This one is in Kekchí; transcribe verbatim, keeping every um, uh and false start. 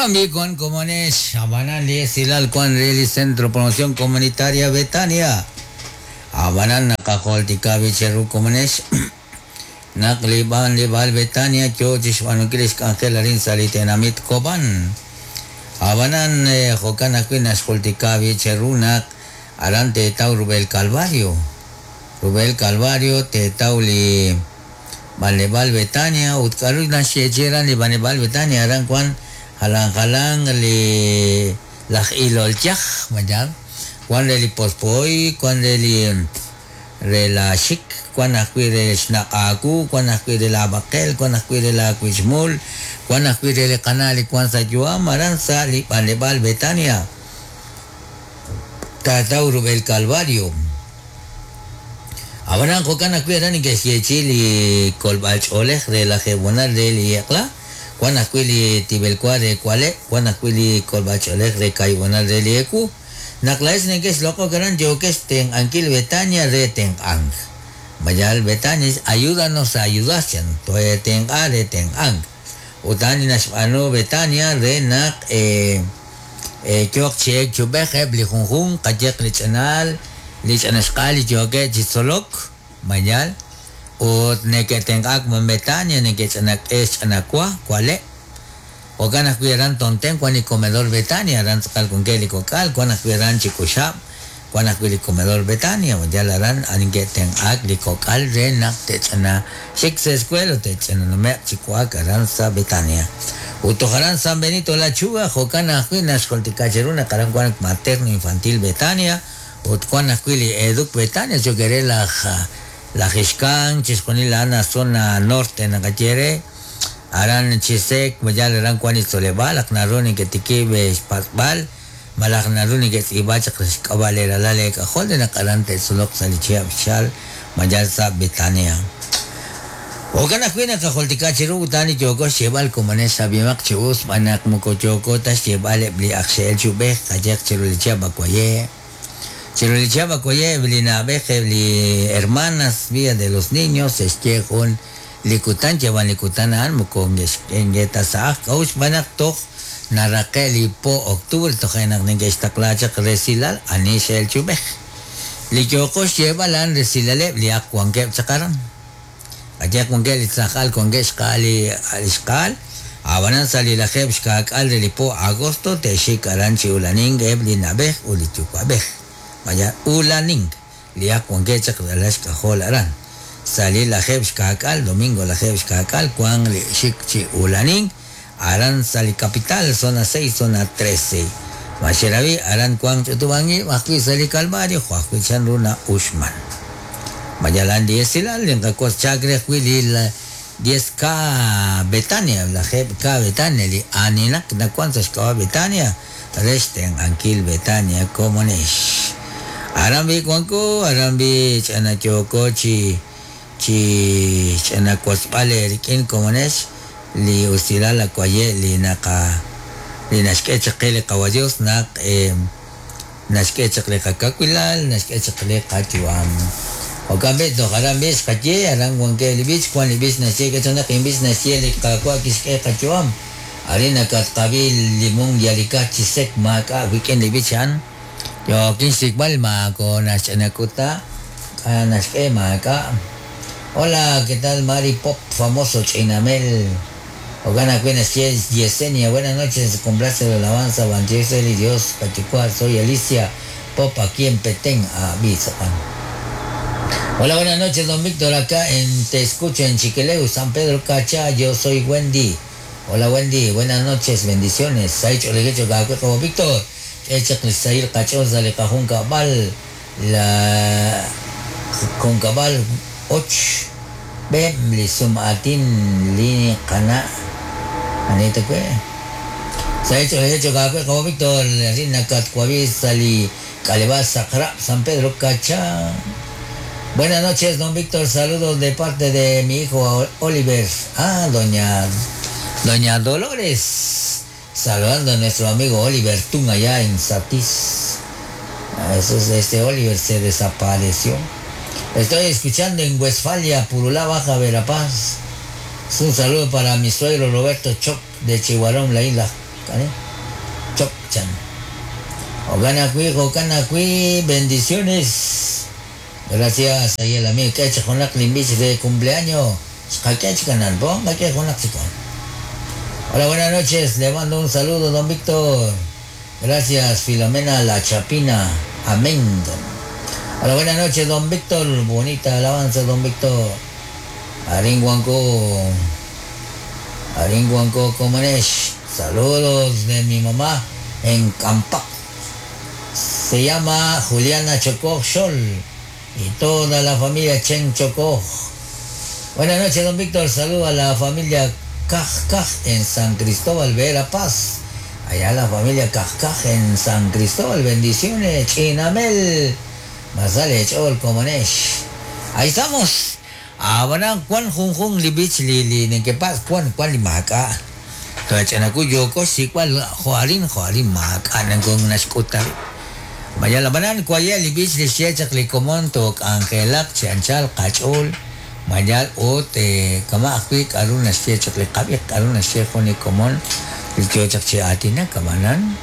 Okambi con Comunes, Abanan Silal Juan Reli Centro Promoción Comunitaria Betania. Abanan Nakajoltika Bicheru Comunes. Nakliban Libal Betania, Chochis Manukilis Ángel Arin Salitenamit Koban. Abanan Jokan Aquinas Joltika Bicherunak, Arante Tau Rubel Calvario. Rubel Calvario, Te Tauli Banebal Betania, Utkaru Nashecheran, Libanebal Betania, Aran Juan. Jalan jalan li laj ilolchaj mayan Juan le li pospoy Juan le li re la xik Juan ajwi re xnaq'aku Juan ajwi re la baqel Juan ajwi re la kuixmul Juan ajwi re li qanal Juan sa yuam aran sa li Banebal Betania Tatau Rubel Calvario Abaran jokan ajwi aran inkex li kolb'al ch'oolej re la jebonal re li eq'la Juan ajwi li tibelkua re kuale, Juan ajwi li kolb'al re kaibonal re lieku, Naklaes nekex loko karan yokex ten ankil Betania re ten ang. Mayal Betania ayúdanos a ayudarse, toe ten a re ten ang. Utani nashbano Betania re nak eh eh chok chek chubeje li junjun kayek li chanal li chanashkal yoke chisolok mayal. Ut neketengak mon Betania nekechanak es chanakua kuale Okan ajwi aran tonten kuan li comedor Betania aran tz'aqal con ke li kok'al kuan ajwi aran chikuxab kuan ajwi li comedor Betania mayal aran aninketenk'ak li kok'al re naq techana xik sa escuela techana numeq chikuak aran sa Betania Utoj aran San Benito La Chuga jokan ajwi naxjoltikacheru naq aran kuan materno infantil Betania ut kuan ajwi li eduk Betania chokere laj La Jixcan, Chisconil, la zona norte, Nacachere, Aran Chisek, Mayal Aran Juan Isolebal, Aknaruni, Ketikibe, Spasbal, Malaknaruni, Ketibach, Cabalera, Lale, Cajol de Nacarante, Solok, Salichia, Chal, Mayal Sa, Betania. Ocana Cuina, Cajolticachiru, Tani, Yoko, Cheval, Comanesa, Bimac, Chibus, Manak, Mucochoco, Tachebal, Bliaxel, Chubej, Kayak, Chirulichia, Bacuaye. Chirolichaba koye blina beje li hermanas vía de los niños este con likutan llevan likutan an mukong engeta sa kauch banak tok narake li po octubre tojenak ninge ixtaklacha resilal anishel chubej li yokos lleva lan resilale li akwanke chakaran allá con que li tzajal con que xkali alishkal abanan sali la jeb xkak al li po agosto te xikaran chiulaning ebli nabej uli chukwabej Vaya ulaning, lia con que chakdalash kajol aran. Salí la jeb xkakal, domingo la jeb xkakal, cuan li xik chi ulaning, aran sali capital, zona seis, zona trece. Macheravi, aran cuan chutubangi, majui sali calvario, juajui chan runa ushman. Mayalan diesilal, linkakos chakre, huili la diez K Betania, la jeb K Betania, li aninak, na cuan sashkawa Betania, resten ankil Betania, comunesh. Arambi kuanku, arambi chana choko chi chi chana kuaspale rikin comunes li usila la kuaye li naka li nashke chakele kawadios nak eh nashke chakle kakakuilal nashke chakle kachuam. Okambe do arambi skaye aran kuanke li bich kuan li bich nashke que chana kimbich nashke li kakua kiske kachuam. Arina katkabil limón yalika chisek maka weekend li bichan. Yo kinsikbal ma con Ashanakuta, Anashke maka. Hola, ¿qué tal Mari Pop, famoso Chinamel? Ogana Cuenas Yesenia, buenas noches, complace la alabanza, Banchesel y Dios, Pachicua, soy Alicia Pop aquí en Petén, a Bizapan. Hola, buenas noches, don Víctor, acá en Te Escucho en Chiquileu, San Pedro Cacha, yo soy Wendy. Hola Wendy, buenas noches, bendiciones. Saicho Legecho, como Víctor. Echak Lisail Cachosa le cajón cabal la con cabal och bem li sumatin li kana anita que Saicho Legecho como Víctor, Rina Catcuavi Sali Calebaza San Pedro Cacha. Buenas noches, don Víctor, saludos de parte de mi hijo Oliver. Ah, doña Doña Dolores, saludando a nuestro amigo Oliver Tun allá en Satiz. Eso es, este Oliver se desapareció. Estoy escuchando en Westfalia, Purulá Baja, Verapaz. Un saludo para mi suegro Roberto Choc de Chihuarón, la isla Kani chok chan. Jo'kan ajwi', jo'kan ajwi', bendiciones. Gracias, ahí el amigo. K'e chik junaq li b'ich de cumpleaños. Xqak'e chik anan, po, qak'e junaq chik. Hola, buenas noches. Le mando un saludo, don Víctor. Gracias, Filomena La Chapina. Amén. Hola, buenas noches, don Víctor. Bonita alabanza, don Víctor. Arin Guanco. Arin Guanco Comanesh. Saludos de mi mamá en Campac. Se llama Juliana Chocó Xol y toda la familia Chen Chocó. Buenas noches, don Víctor. Saludo a la familia Caj Caj en San Cristóbal, Verapaz. Allá la familia Caj Caj en San Cristóbal. Bendiciones, Chinamel. Masale Chol Comanesh. Ahí estamos. Abana Juan Jun Jun li bich li li nekepas Juan Juan li maka. Kachanaku yoko sikwal joarin joarin maka nangkong naskuta. Maya labanan kwaya li bich li siechak li komontok angelak chanchal kachol. Mayal ot kama akwi karun nasiechak li kabik karun nasiechak ni komon li kyochak chi atina kamanan.